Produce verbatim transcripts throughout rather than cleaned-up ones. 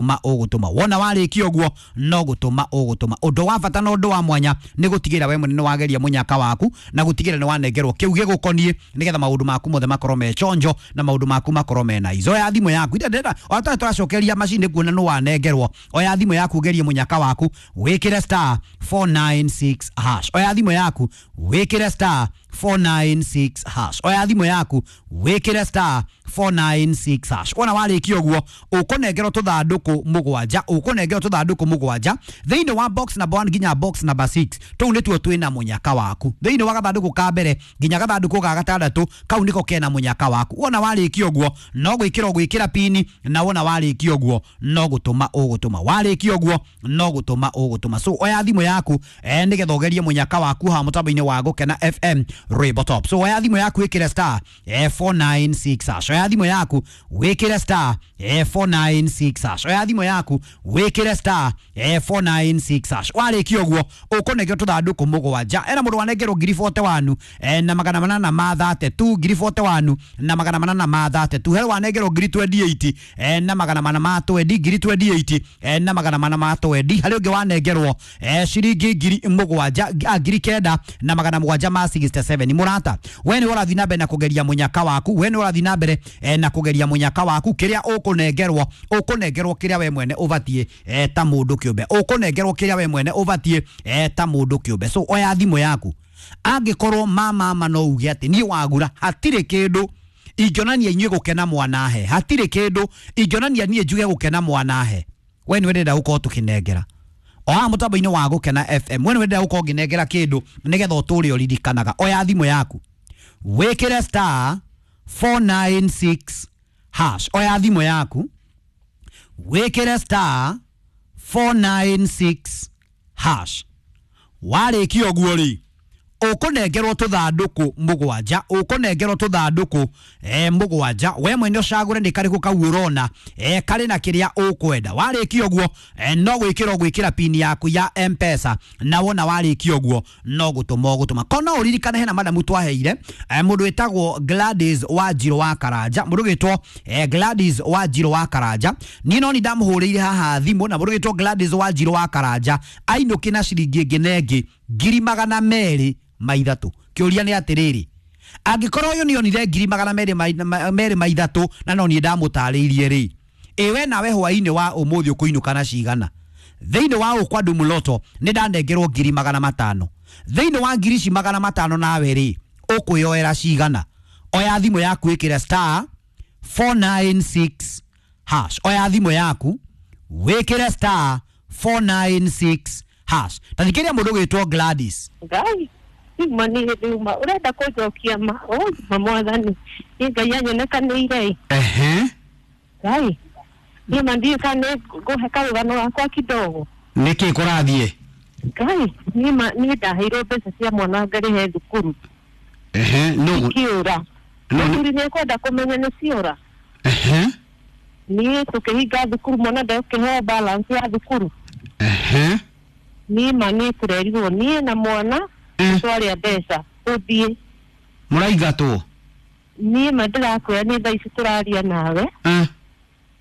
Ma ũgũtũma wona warĩkia ũguo no gũtũma ũgũtũma. Ũndũ wa bata na ũndũ wa mwanya nĩ gũtigĩrĩra we mwene nĩ wageria mũnyaka waku na gũtigĩrĩra nĩ wanengerwo kĩu gĩgũkoniĩ nĩgetha maũndũ maku mothe makorwo me chonjo na maũndũ maku makorwo me na izo. Oya thimũ yaku ndenda ona tũracokeria macini kuona nĩ wanengerwo. Oya thimũ yaku ũgerie mũnyaka waku wĩkĩre star four nine six hash. Oya thimũ yaku wĩkĩre star four nine six hash. Oya thimũ yaku wĩkĩre star four nine six hash. Wona warĩkia ũguo ũkũnengerwo tũthandũkũ mũgwanja, ũkũnengerwo tũthandũkũ mũgwanja thĩinĩ wa box number one nginya box number six. Tũu nĩtuo twĩna mũnyaka waku thĩinĩ wa gathandũkũ ka mbere nginya gathandũkũ ga gatandatũ, kau nĩko kena mũnyaka waku. Wona warĩkia ũguo no gwĩkĩra ũgwĩkĩra pini, na wona warĩkia ũguo no gũtũma ũgũtũma. Warĩkia ũguo no gũtũma ũgũtũma. So oya thimũ yaku eh, nĩgetha ũgerie mũnyaka waku haha mũtambo-inĩ wa Gũkena F M Rainbow Top. So oya thimũ yaku ĩkĩre star eh, four nine six hash. Oya thimũ yaku wĩkĩre star eh, four nine six hash. Oya thimũ yaku wĩkĩre star eh, four nine six hash. Warĩkia ũguo ũkũnengerwo tũthandũkũ mũgwanja. Ena mũndũ wanengerwo ngiri forty one eh, na magana manana ma thate tu, ngiri forty one na magana manana ma thate tu. He wanengerwo ngiri twenty eight eh, na magana mana ma twenty, ngiri twenty eight eh, na magana mana ma twenty. Harĩ ũngĩ wanengerwo eh, ciringi ngiri mũgwanja, ngiri kenda na magana mũgwanja ma sixty seven. Mũrata, we nĩ ũrathiĩ na mbere na kũgeria mũnyaka waku, we nĩ ũrathiĩ na mbere eh, na kũgeria mũnyaka waku. Kĩrĩa ũkũnengerwo ũkũnengerwo kĩrĩa we mwene ũbatiĩ eh, ta mũndũ kĩũmbe, ũkũnengerwo kĩrĩa we mwene ũbatiĩ eh, ta mũndũ kĩũmbe. So oya thimũ yaku, angĩkorwo mama mama no uge atĩ niĩ wagura hatirĩ kĩndũ ingĩonania inyuĩ gũkena mwanahe, hatirĩ kĩndũ ingĩonania niĩ njuge gũkena mwanahe, we nĩ ũrenda gũkorwo tũkĩnengera o haha mũtambo-inĩ wa Gũkena F M. We nĩ ũrenda gũkorwo ngĩnengera kĩndũ nĩgetha ũtũre ũririkanaga. Oya thimũ yaku wĩkĩre star four nine six hash. Oya thimũ yaku wĩkĩre star four nine six hash. Warĩkia ũguo rĩ ũkũnengerwo tũthandũkũ mũgwanja, ũkũnengerwo tũthandũkũ eh, mũgwanja. We mwene ũcagũre nĩ karĩkũ kau ũrona eh, karĩ na kĩrĩa ũkwenda. Warĩkia ũguo eh, no gwĩkĩra ũgwĩkĩra pini yaku ya M-Pesa, na wona warĩkia ũguo no gũtũma ũgũtũma. Ko no ũririkane hena madamu twaheire eh, mũndũ wĩtagwo Gladys Wanjirũ wa Karanja, mũndũ wĩtwo eh, Gladys Wanjirũ wa Karanja. Niĩ no nĩ ndamũhũrĩire haha thimũ, na mũndũ wĩtwo Gladys Wanjirũ wa Karanja ainũki na ciringi ĩngĩ na ĩngĩ ngiri magana merĩ ma ithatũ. Kĩũria nĩ atĩrĩrĩ, angĩkorwo ũyũ nĩonire ngiri magana merĩ merĩ ma ithatũ na no niĩ ndamũtarĩirie rĩ, ĩ we nawe hwaĩ-inĩ wa ũmũthĩ ũkũinũka na cigana? Thĩinĩ wa ũkwa Ndumuloto nĩ ndanengerwo ngiri magana matano. Thĩinĩ wa ngiri ici magana matano nawe rĩ ũkwĩyoera cigana? Oya thimũ yaku ĩkĩre star four nine six hash. Oya thimũ yaku wĩkĩre star four nine six hash. Ta thikĩrĩria mũndũ ũgwĩtwo Gladys. Ngai ma nĩ nduma ũrenda kũnjokia ma ma mwathani nĩ Ngai anyonekanĩire. Ehe. Ngai niĩ ma ndiũĩ kana nĩ ngũhe karũgano gakwa kidogo. Nĩkĩ kũrathiĩ? Ngai niĩ ma niĩ ndaheirwo mbeca cia mwana ngarĩhe thukuru. Ehe. No ikiũra. Mũthuri nĩ ekwenda kũmenya nĩ ciora. Ehe. Niĩ tũkĩhinga thukuru mwana ndekũheo balance ya thukuru. Ehe. Niĩ ma niĩ tũrerirwo niĩ na mwana twarĩa mbeca ũthiĩ. Mũraingatwo? Niĩ ma ndĩrakwĩra nĩ thaa ici tũraria nawe.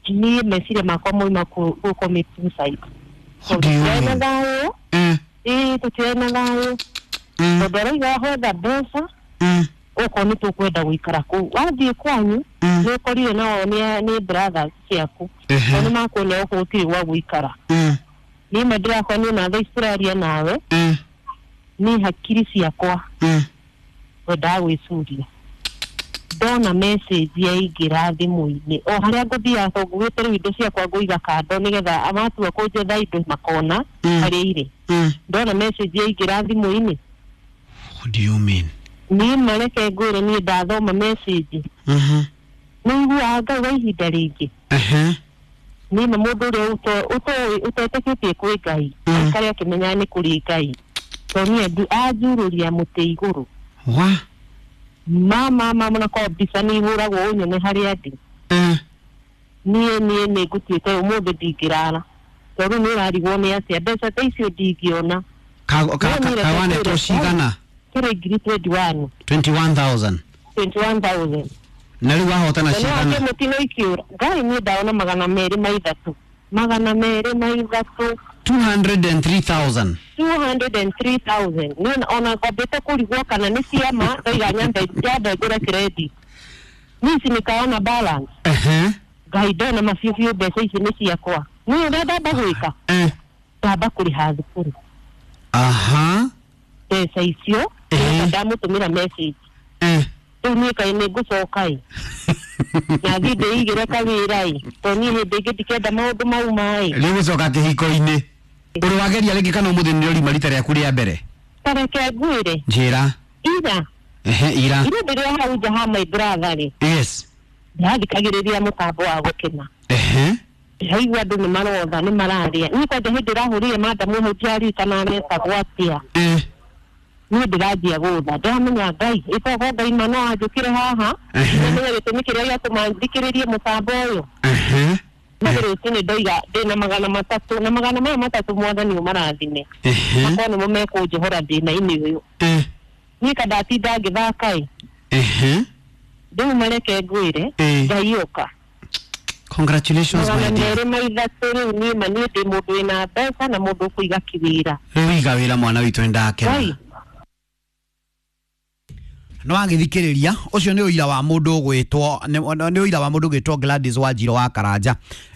Niĩ meciria makwa moima kũ commit suicide. Tũtirĩ na thayũ. Ĩĩ tũtirĩ na thayũ. Tondũ arauga hotha mbeca okorwo nĩ tũkwenda gũikara kũu. Wathiĩ kwanyu nĩ ũkorire nao nĩ brothers ciaku. Nao nĩ makuonia gũkũ gũtirĩ gwa gũikara. Niĩ ma ndĩrakora niĩ na thaa ici tũraria nawe ni hakiri ciakwa wendaga gwĩcuria. Ndona message yaingĩra thimũ-inĩ o harĩa ngũthiaga tondũ ngugĩte rĩu indo ciakwa ngũiga kando nĩgetha matua kũnjetha indo makona harĩa irĩ. Ndona message yaingĩra thimũ-inĩ. What do you mean? Niĩ mareke ngwĩre niĩ ndathoma message. Mhm. Nĩ iguaga Ngai wa ihinda rĩngĩ. Ehe. Niĩ ma mũndũ ũrĩa ũtoĩ ũtetĩkĩtie kwĩ Ngai aikare akĩmenyaga nĩ kũrĩ Ngai. Tondũ niĩ anjurũria mũtĩ igũrũ. Wa? Mama mama na kwa mbica nĩ ihũragwo ũnyone harĩa ndĩ. Niĩ niĩ nĩ ngũtuĩte ũmũthĩ ndingĩrara. Tondũ nĩ ũrarigwo nĩ atĩa mbeca ta icio ndingĩona. Kawanetwo cigana? Kĩrĩ ngiri twenty one. twenty one thousand. twenty one thousand. Na rĩu wahotana cigana? Na mũtino ikiũra. Ngai niĩ ndaona magana merĩ ma ithatũ. Magana merĩ na ithatũ. two hundred three thousand. two hundred three thousand. Niĩ ona ngwambĩte kũrigwo kana nĩ ciama ndaiga nyambe nyambe ngũre credit. Niĩ nikaona balance. Ehe. Ngai ndona mabiũ mbeca ici nĩ ciakwa. Niĩ ũrĩa ndamba gwĩka. Eh. Ndamba kũrĩha thukuru. Aha. Mbeca icio ndamũtũmĩra message. Eh. Rĩu niĩ kaĩ nĩ ngũcoka ĩ. Na thiĩ ndĩigĩre kawĩra ĩ. Tondũ niĩ hĩndĩ ĩngĩ ndikenda maũndũ mau ma ĩ. Rĩu gũcoka kĩhiko-inĩ. Ũrĩ wageria rĩngĩ kana ũmũthĩ nĩ ũrima rita rĩaku rĩa mbere? Ta reke ngwĩre. Njĩra. Ira. Ehe, ira. Ira ndĩrĩ hau nja ha my brother rĩ. Yes. Ndathikagĩrĩria mũtambo wa gũkena. Ehe. Ndĩraigua andũ nĩ marotha nĩ mararia. Niĩ kwanja hĩndĩ ĩrahũrire madamu hau ndiaririkana aretagwo atĩa. Eh. Niĩ ndĩranjia gũtha. Ndĩramenya Ngai, ĩtogo Ngai ma no anjũkĩre haha. Ndĩramenya gĩtũmi kĩrĩa gĩatũma thikĩrĩrie mũtambo ũyũ. Ehe. Nĩ rũcinĩ ndoiga ndĩna magana matatũ na magana maya matatũ mwathani ũmarathime. Ehe. Makorwo nĩmo mekũnjohora thĩna-inĩ ũyũ. Eh. Niĩ ka ndatinda ngĩthaka ĩ. Ehe. Rĩu mareke ngwĩre Ngai ũka. Congratulations my dear. Magana merĩ ma ithatũ rĩu niĩ ma niĩ ndĩ mũndũ wĩna mbeca na mũndũ ũkũiga kĩwĩra. Rĩu iga wĩra mwana witũ nĩndakena. No agithikiriria ucio ni uira wa mundu gwitwo ni uira wa mundu gwitwo Gladys Wanjiro wa Karanja.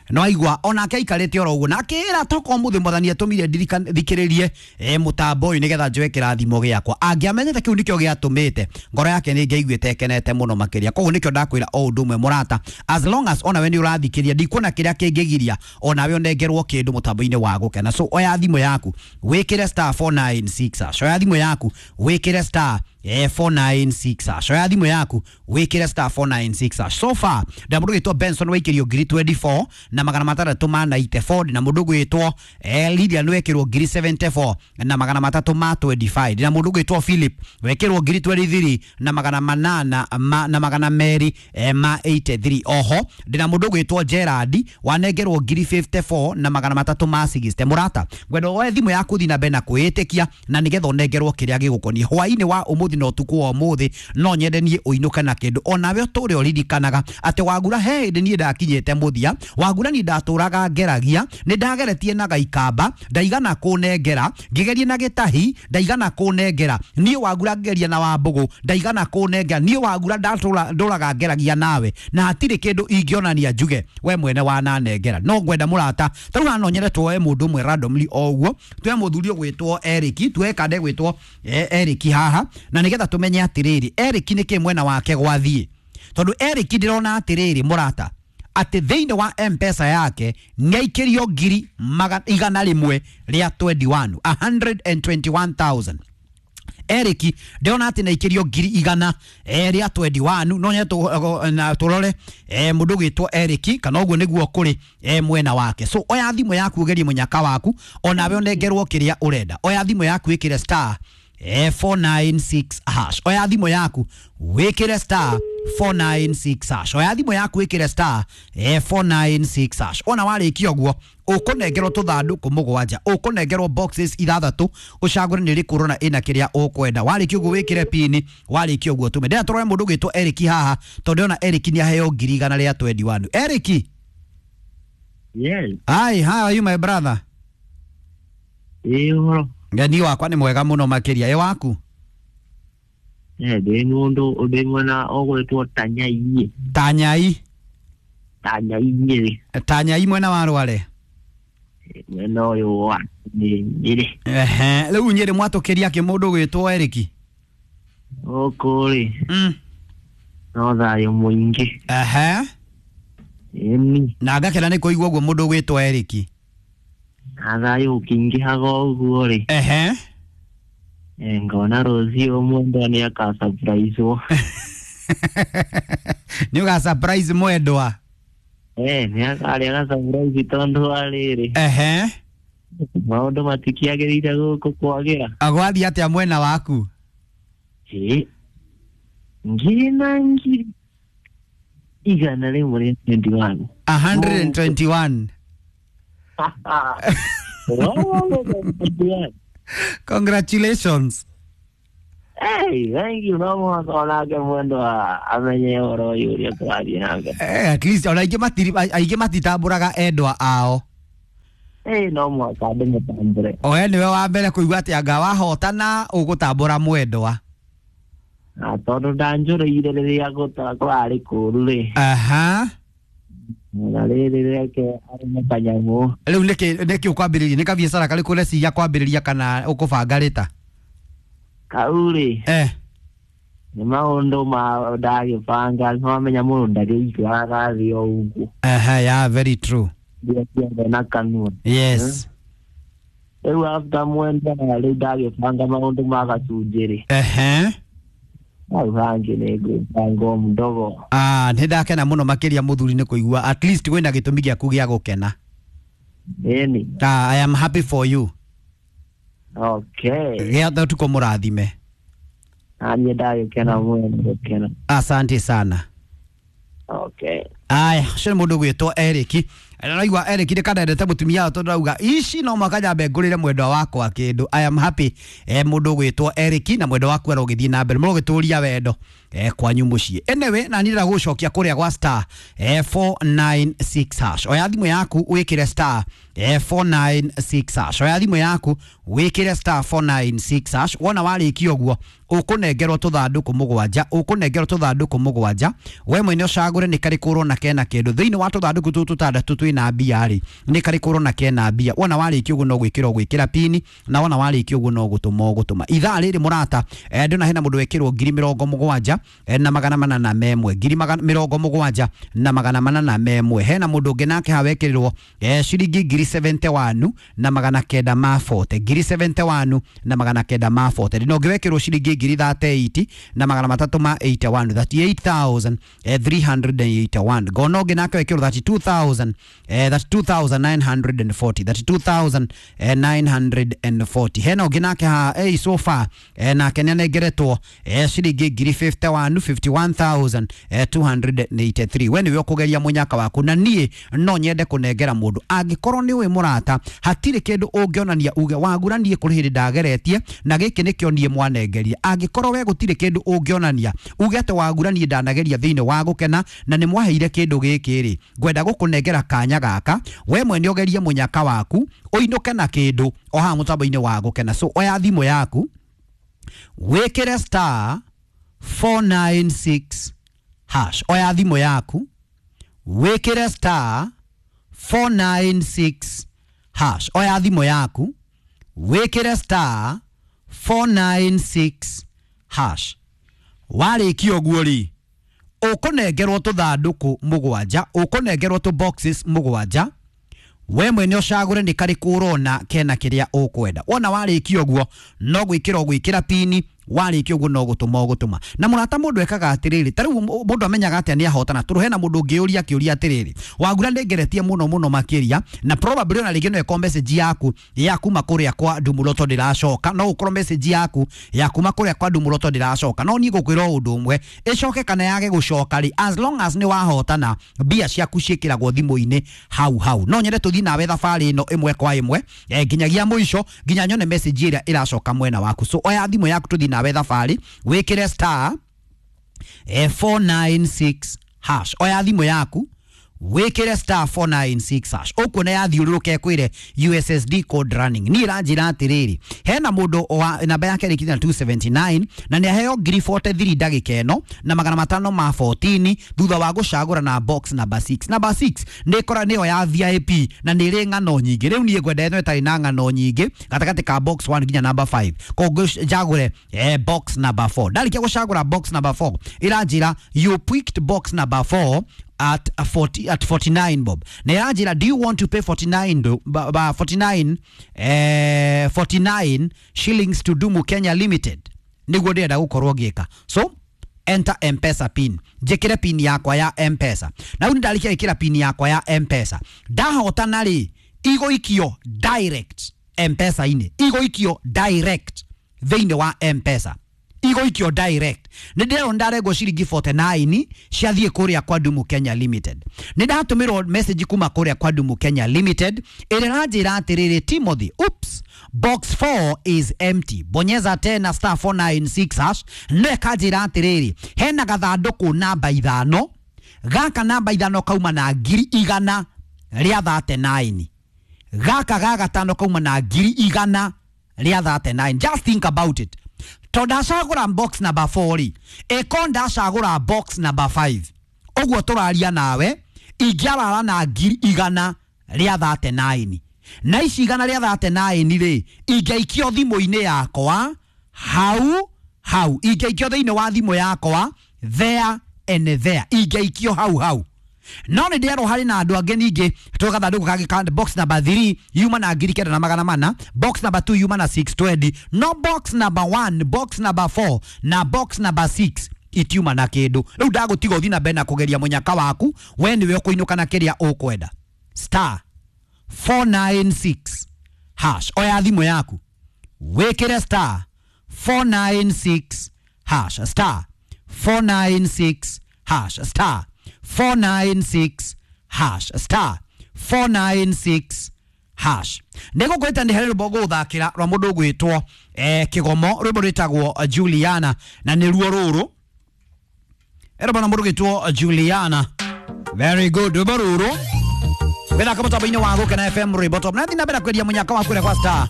No aigua onake aikarite oro uguo na akira toko muthi mwathani atumire thikiririe e mutambo uyu nigetha njoe kirathimo giakwa. Angiamenyete kiu nikio giatumite ngoro yake ni ngeiguite ekenete muno makiria. Koguo nikio ndakwira o undu umwe murata, as long as onawe ni urathikiria ndikuona kiria kingigiria onawe onengerwo kindu mutambo-ini wa gukena. So oya thimu yaku wikire star four nine six hash. Oya thimu yaku wikire star eh four nine six hash. Oya thimu yaku wikire star four nine six hash. So far nda mundu gwitwo Benson waikirio ngiri twenty-four na magana matandatũ ma ninety-four na mundu gwitwo eh Lydia nwekirwo ngiri seventy-four na magana matatũ ma twenty-five na mundu gwitwo Philip wekirwo ngiri twenty-three na magana manana ma, na magana meri eh, ma eighty-three. Oho ndina mundu gwitwo Gerard wanengerwo ngiri fifty-four na magana matatũ ma sixty. Murata ngwenda woe thimu yaku thi na mbere na kwĩĩtĩkia na nigetha ũnengerwo kĩrĩa gĩgũkoniĩ hwainĩ wa ũmũthĩ na ũtukũ wa ũmũthĩ. No nyende niĩ ũinũke na kĩndũ onawe ũtũre ũririkanaga atĩ Wagura he hĩndĩ niĩ ndakinyĩte mũthia. Wagura ni ndatũraga ngeragia nĩ ndageretie na gaikamba ndaigana kũnengera, ngĩgeria na gĩtahi ndaigana kũnengera, niĩ Wagura ngeria na Wambũgũ ndaigana kũnengera, niĩ Wagura ndatũra ndũraga ngeragia nawe na hatirĩ kĩndũ ingĩonania njuge we mwene wananengera. No ngwenda mũrata tarĩu haha no nyende tuoe mũndũ ũmwe randomly o ũguo, tuoe mũthuri ũgwĩtwo Eric, tuoe kande gwĩtwo Eric haha na nĩgetha tũmenye atĩrĩrĩ Eric nĩkĩ mwena wake gwathiĩ, tondũ Eric ndĩrona atĩrĩrĩ mũrata atĩ thĩinĩ wa M-Pesa yake nĩaikĩrio ngiri igana rĩmwe rĩa twenty-one, a hundred and twenty-one thousand. Eric ndĩrona atĩ nĩaikĩrio ngiri igana rĩa twenty-one. No nyende tũrore mũndũ ũgwĩtwo Eric kana ũguo nĩguo kũrĩ mwena wake. So oya thimũ yaku ũgerie mũnyaka waku onawe ũnengerwo kĩrĩa ũrenda. Oya thimũ yaku ĩkĩre star four nine six hash. Oya thimũ yaku wĩkĩre star four nine six hash. Oya thimũ yaku wĩkĩre star four nine six hash. Ona warĩkia ũguo ũkũnengerwo tũthandũkũ mũgwanja, ũkũnengerwo boxes ithathatũ ũcagũre nĩ rĩkũ ũrona ĩna kĩrĩa ũkwenda. Warĩkia ũguo wĩkĩre pini, warĩkia ũguo tũme. Ndĩrenda tũrore mũndũ ũgwĩtwo Eric haha tondũ ndĩrona Eric nĩ aheo ngiri igana rĩa twenty-one. Eric. Yes. Hi, how are you my brother? Ĩ ũhoro. Ngani wakwa nĩ mwega mũno makĩria. Ĩ waku? Eh, ndĩ mũndũ ndĩ mwena ũgwĩtwo Tanyai. Tanyai. Tanyai Nyĩrĩ. Tanyai mwena wa Rware. Mwena ũyũ wa Nyĩrĩ. Ehe, rĩu Nyĩrĩ mwatũkĩria kĩ mũndũ ũgwĩtwo Eric? Gũkũ rĩ. Mm. No thayũ mũingĩ. Ehe. Ĩni. Na ngakena nĩ kũigua ũguo mũndũ ũgwĩtwo Eric. Na thayũ ũkĩingĩhaga ũguo rĩ. Ehe. Ngona rũciũ mwendwa nĩ aka-surprise-wo. Nĩ ũga-surprise mwendwa? Eh, nĩ akarĩa ga-surprise tondũ wa rĩrĩ. Ehe. Maũndũ matikĩagĩrĩire gũkũ kwagĩra. Gwathiĩ atĩa mwena waku? Ĩ. Ngiri na ngiri igana rĩmwe rĩa twenty-one. A hundred and twenty-one. Congratulations. Hey, thank you. No mũhaka onake mwendwa amenye ũhoro ũyũ ũrĩa tũrathiĩ na mbere. Eh, at least ona aingĩ matiri aingĩ matitambũraga endwa ao. Ĩĩ no mũhaka ndĩmũtambũre. Oe nĩwe wa mbere kũigua atĩ anga wahotana ũgũtambũra mwendwa. Na tondũ ndanjũrĩire rĩrĩa gũta kũrarĩ kũũru rĩ. Aha. Na rĩrĩ reke arũme kanyamũ. Rĩu nĩkĩ nĩkĩ ũkwambĩrĩria? Nĩ kabiacara karĩkũ ũreciria kwambĩrĩria kana ũkũbanga rĩta? Kau rĩ. Eh. Nĩ maũndũ ma ndagĩbanga nĩwamenya mũndũ ndagĩikaraga thĩ o ũguo. Aha, yeah, very true. Mbia ciothe na kanua. Yes. Rĩu after mwenda rĩu ndagĩbanga maũndũ ma gacunjĩ rĩ. Ehe. Hau hangĩ nĩ ngwĩbanga o mdogo. Ah, nĩ ndakena mũno makĩria mũthuri nĩ kũigua at least wĩna gĩtũmi gĩaku gĩa gũkena. Ĩni. Ah, I am happy for you. Okay. Gĩa ũtukũ mũrathime. Naniĩ ndagĩkena mũno nĩ gũkena. Asante sana. Okay. Aya, ũcio nĩ mũndũ ũgwĩtwo Eric. Naigua Eric nĩ kandendete mũtumia tondũ arauga ici no mũhaka nyambe ngũrĩre mwendwa wakwa kĩndũ. I am happy. Eh, mũndũ ũgwĩtwo Eric na mwendwa waku arogĩthiĩ na mbere mũrogĩtũria wendo eh, kwanyu mũciĩ. Anyway, na niĩ ndĩrenda gũgũcokia kũrĩa gwa star eh, four nine six hash. Oya thimũ yaku wĩkĩre star eh, four nine six hash. Oya thimũ yaku wĩkĩre star four nine six hash. Wona warĩkia ũguo ũkũnengerwo tũthandũkũ mũgwanja, ũkũnengerwo tũthandũkũ mũgwanja. We mwene ũcagũre nĩ karĩkũ ũrona kena kĩndũ thĩinĩ wa tũthandũkũ tũtũ tũtandatũ twĩna mbia rĩ, nĩ karĩkũ ũrona kena mbia. Wona warĩkia ũguo no gwĩkĩra ũgwĩkĩra pini, na wona warĩkia ũguo no gũtũma ũgũtũma. Ithaa rĩrĩ mũrata, eh, ndĩrona hena mũndũ wekĩrwo ngiri mĩrongo mũgwanja eh, na magana mana na memwe, ngiri magana mĩrongo mũgwanja na magana mana na memwe. Hena mũndũ ũngĩ nake haha wekĩrirwo eh, ciringi ngiri seventy one na magana kenda ma forty, ngiri seventy one na magana kenda ma forty. Ndĩna ũngĩ wekĩrwo ciringi ngiri thirty eight na magana matatũ ma eighty one, thirty eight thousand three hundred and eighty one. Ngona ũngĩ nake wekĩrwo thirty two thousand, eh, thirty two thousand nine hundred and forty, thirty two thousand nine hundred and forty. Hena ũngĩ nake haha eh, so far eh, nake nĩanengeretwo eh, ciringi ngiri fifty one, fifty one thousand two hundred and eighty three. We nĩwe ũkũgeria mũnyaka waku, na niĩ no nyende kũnengera mũndũ angĩkorwo nĩ ũĩ mũrata hatirĩ kĩndũ ũngĩonania uge wagura niĩ kũrĩ hĩndĩ ndageretie na gĩkĩ nĩkĩo niĩ mwanengeria. Angĩkorwo we gũtirĩ kĩndũ ũngĩonania uge atĩ wagura niĩ ndanageria thĩinĩ wa gũkena na nĩ mwaheire kĩndũ gĩkĩ rĩ, ngwenda gũkũnengera kanya gaka we mwene ũgerie mũnyaka waku ũinũke na kĩndũ o haha mũtambo-inĩ wa gũkena. So oya thimũ yaku wĩkĩre star four nine six hash. Oya thimũ yaku wĩkĩre star four nine six hash. Oya thimũ yaku wĩkĩre star four nine six hash. Warĩkia ũguo rĩ, ũkũnengerwo tũthandũkũ mũgwanja, ũkũnengerwo tũ boxes mũgwanja. We mwene ũcagũre nĩ karĩkũ ũrona kena kĩrĩa ũkwenda. Wona warĩkia ũguo no gwĩkĩra ũgwĩkĩra pini, warĩkia ũguo no gũtũma ũgũtũma. Na mũrata mũndũ ekaga atĩrĩrĩ, ta rĩu mũndũ amenyaga atĩa nĩ ahotana? Tondũ hena mũndũ ũngĩũria akĩũria atĩrĩrĩ, wagura nĩngeretie mũno mũno makĩria, na probably ona rĩngĩ no ĩkorwo message yaku ya kuma kũrĩa kwa Ndumuroto ndĩracoka, no ũkorwo message yaku ya kuma kũrĩa kwa Ndumuroto ndĩracoka. No niĩ ngũkwĩra o ũndũ ũmwe, ĩcoke kana yage gũcoka rĩ, as long as nĩ wahotana mbia ciaku ciĩkĩragwo thimũ-inĩ hau hau. No nyende tũthiĩ nawe thabarĩ ĩno ĩmwe kwa ĩmwe eh, nginyagia mũico, nginya nyone message ĩrĩa ĩracoka mwena waku. So oya thimũ yaku tũthiĩ nawe thabarĩ, wĩkĩre star eh, four nine six hash. Oya thimũ yaku wĩkĩre star four nine six hash. Ũkuona yathiũrũrũka ĩkwĩre U S S D code running. Niĩ ĩranjĩra atĩrĩrĩ, hena mũndũ wa namba yake ĩrĩkĩtie na two seventy nine na nĩ aheo ngiri forty three ndagĩka ĩno na magana matano ma fourteen thutha wa gũcagũra na box number six. Number six nĩ ĩkora nĩyo ya V I P na nĩ ĩrĩ ng'ano nyingĩ. Rĩu niĩ ngwenda ĩno ĩtarĩ na ng'ano nyingĩ gatagatĩ ka box one nginya number five. Koguo njagũre eh, box number four. Ndarĩkia gũcagũra box number four ĩranjĩra you picked box number four at forty, at forty-nine bob. Na ĩranjĩra do you want to pay forty-nine do, ba, ba, forty-nine, eh, forty-nine shillings to Dumu Kenya Limited? Nĩguo ndĩrenda gũkorwo ngĩka. So enter M-Pesa pin. Njĩkĩre pin yakwa ya M-Pesa. Na rĩu nĩndarĩkia gwĩkĩra pin yakwa ya M-Pesa. Ndahotana rĩ, igũikio direct M-Pesa-inĩ. Igũikio direct thĩinĩ wa M-Pesa. Igũikio direct. Nĩ ndĩrona ndarengwo ciringi forty nine ciathiĩ kũrĩa kwa Dumu Kenya Limited. Nĩ ndatũmĩrwo message kuma kũrĩa kwa Dumu Kenya Limited ĩrĩa ĩranjĩra atĩrĩrĩ, Timothy, oops, box four is empty, bonyeza tena star four nine six hash. No ĩkanjĩra atĩrĩrĩ, hena gathandũkũ namba ithano, gaka namba ithano kauma na ngiri igana rĩa thirty nine. Gaka ga gatano kauma na ngiri igana rĩa thirty-nine. Just think about it. To ndacagũra box number four rĩ, ĩko ndacagũra box number five, ũguo tũraria nawe ingĩarara na ngiri igana rĩa thirty-nine. Na ici igana rĩa thirty-nine rĩ, ingĩaikio thimũ-inĩ yakwa hau hau, ingĩaikio thĩinĩ wa thimũ yakwa there and there, ingĩaikio hau hau. No nĩ ndĩrerwo harĩ na andũ angĩ ningĩ tũgathandũkũ kangĩ ka box number three yuma na ngiri kenda na magana mana, box number two yuma na six twenty, no box number one, box number four na box number six itiuma na kĩndũ. Rĩu ndagũtiga ũthiĩ na mbere na kũgeria mũnyaka waku, we nĩwe ũkũinũka na kĩrĩa ũkwenda. Star four nine six hash. Oya thimũ yaku wĩkĩre star four nine six hash, star four nine six hash, star four nine six hash, star four nine six hash. Nĩgũkwĩta nĩ harĩ rwĩmbo ngũgũthakĩra rwa mũndũ ũgwĩtwo eh, Kĩgomo, rwĩmbo rwĩtagwo Juliana, na nĩruo rũrũ. Rwĩmbo na mũndũ ũgwĩtwo Juliana. Very good, rwĩmbo rũrũ wĩthaka mũtambo-inĩ wa Gũkena F M rwĩmbo top. Na thiĩ na mbere kwendia mũnyaka waku kũrĩa kwa star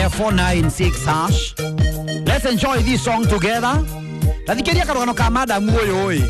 four nine six hash. Let's enjoy this song together. Tathikĩria karũgano ka madamu ũyũ ĩ.